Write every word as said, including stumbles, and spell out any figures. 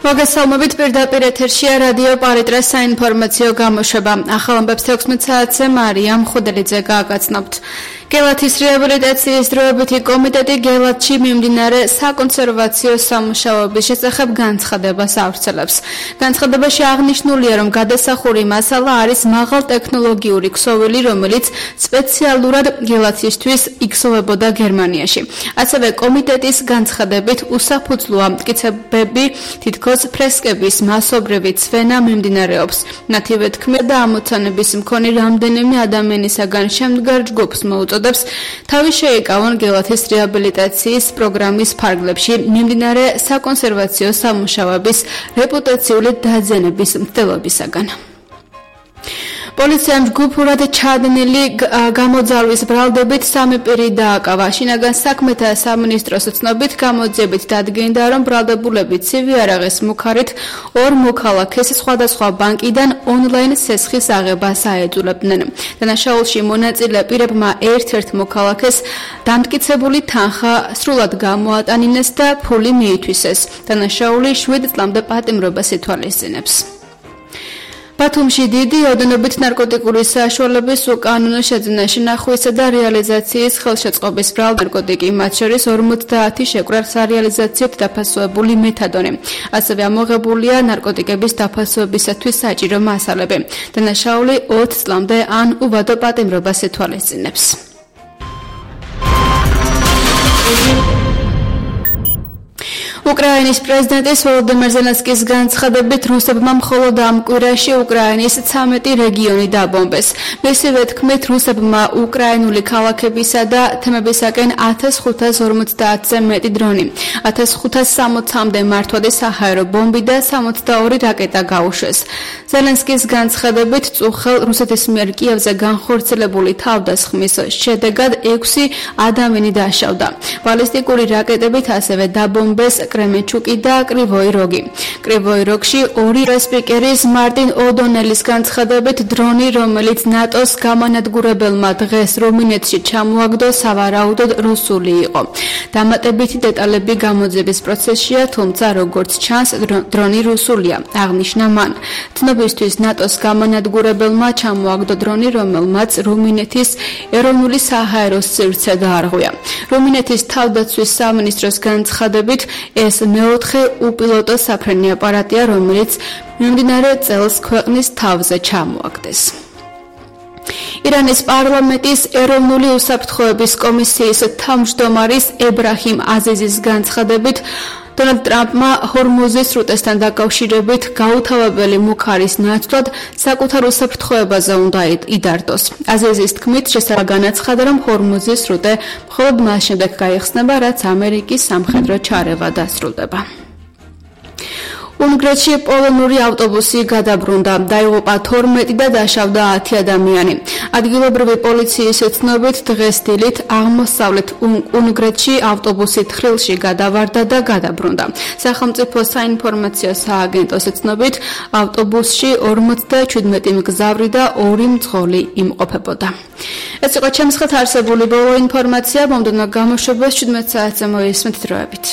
მოგესალმებით პირდაპირ ეთერშია რადიო პარიტრას საინფორმაციო გამოშვება. ახალ ამბებს თექვსმეტ საათზე მარიამ ხუდელიძე გააგრძნობთ. გელათის რეაბილიტაციის დროებითი კომიტეტი გელათში მიმდინარე საკონსერვაციო სამუშაოების შესახებ განცხადებას ავრცელებს. განცხადებაში აღნიშნულია, რომ გადასახური მასალა არის მაღალტექნოლოგიური ქსოვილი, რომელიც სპეციალურად გელათისთვის იქსოვებოდა გერმანიაში. ასევე კომიტეტის განცხადებით უსაფუძვლოა მტკიცებები, თითქოს ფრესკების მასობრივი ცვენა მიმდინარეობს. მათივე თქმით და ამოცანების მქონე რამდენიმე ადამიანისაგან შემდგარ ჯგუფს მოუწოდებს თავი შეიკავონ გელათის რეაბილიტაციის პროგრამის ფარგლებში მიმდინარე საკონსერვაციო სამუშაოების რეპუტაციული დაძენების მცდელობისაგან. პოლიციამ ჯგუფურად ჩადენილი გამოძალვის ბრალდებით სამი პირი დააკავა. შინაგან საქმეთა სამინისტროს ცნობით გამოძიებით დადგენდა, რომ ბრალდებულები ცივი არაღის მუქარით ორ მოქალაქეს სხვადასხვა ბანკიდან ონლაინ სესხის აღებას აეძულებდნენ. დანაშაულში მონაწილე პირებმა ერთ-ერთ მოქალაქეს დამტკიცებული თანხა სრულად გამოატანინეს და ფული მიითვისეს. დანაშაული შვიდ წლამდე პატიმრობას ითვალისწინებს. ბათუმში დიდი ოდენობით ნარკოტიკული საშუალების უკანონო შეძენა შენახვისა და რეალიზაციის ხელშეწყობის ბრალდება ნარკოტიკი, მათ შორის ორმოცდაათი შეკვრა სარეალიზაციოდ დაფასებული მეთადონი. ასევე ამოღებულია ნარკოტიკების დაფასვებისათვის საჭირო მასალები. დანაშაული ოც წლამდე ან უვადო პატიმრობას ითვალისწინებს. უკრაინის პრეზიდენტის ვოლოდიმირ ზელენსკის განცხადებით რუსებმა მხოლოდ ამ კვირაში უკრაინის ცამეტი რეგიონი დაბომბეს. მისივე თქმით, რუსებმა უკრაინული ქალაქებისა და თემებისაკენ ათას ხუთას ორმოცდაათზე მეტი დრონი, ათას ხუთას სამოცამდე მართვადი საჰაერო ბომბი და სამოცდაორი რაკეტა გაუშვეს. ზელენსკის განცხადებით, წუხელ რუსეთის მიერ კიევზე განხორციელებული თავდასხმის შედეგად ექვსი ადამიანი დაშავდა. ბალისტიკური რაკეტებით ასევე დაბომბეს კრემენჩუკი და კრივოი როგი. კრივოი როგში ორი სპიკერის მარტინ ოდონელის განცხადებით დრონი, რომელიც ნატოს გამანადგურებელმა დღეს რუმინეთში ჩამოაგდო, სავარაუდოდ რუსული იყო. დამატებითი დეტალები გამოძიების პროცესშია, თუმცა როგორც ჩანს, დრონი რუსულია, აღნიშნა მან. ცნობისთვის ნატოს გამანადგურებელმა ჩამოაგდო დრონი, რომელმაც რუმინეთის ეროვნული საჰაერო სივრცე დაარღვია. რუმინეთის თავდაცვის სამინისტროს განცხადებით ეს მეოთხე უპილოტო საფრენი აპარატია, რომელიც მიმდინარე წელს ქვეყნის თავზე ჩამოაგდეს. ირანის პარლამენტის ეროვნული უსაფრთხოების კომისიის თავმჯდომარის ებრაჰიმ აზიზის განცხადებით, დონალდ ტრამპმა ჰორმუზის სრუტესთან დაკავშირებით გაუთავებელი მუქარის ნაცვლად საკუთარ უსაფრთხოებაზე უნდა იდარდოს. აზიზის თქმით, შესაძლოა განაცხადა, რომ ჰორმუზის სრუტე მხოლოდ მას შემდეგ გაიხსნება, რაც ამერიკის სამხედრო ჩარევა დასრულდება. უნგრეთში პოლონური ავტობუსი გადაბრუნდა, დაიღუპა თორმეტი და დაშავდა ათი ადამიანი. ადგილობრივი პოლიციის ცნობით, დღეს დილით აღმოსავლეთ უნგრეთში ავტობუსი თხრილში გადავარდა და გადაბრუნდა. სახელმწიფო საინფორმაციო სააგენტოს ცნობით, ავტობუსში ორმოცდაჩვიდმეტი მგზავრი და ორი მძღოლი იმყოფებოდა. ეს იყო ჩემს ხეთ არსებული ბოლო ინფორმაცია, მომდევნო გამოშვებას შვიდმეტ საათზე მოისმენთ დროებით.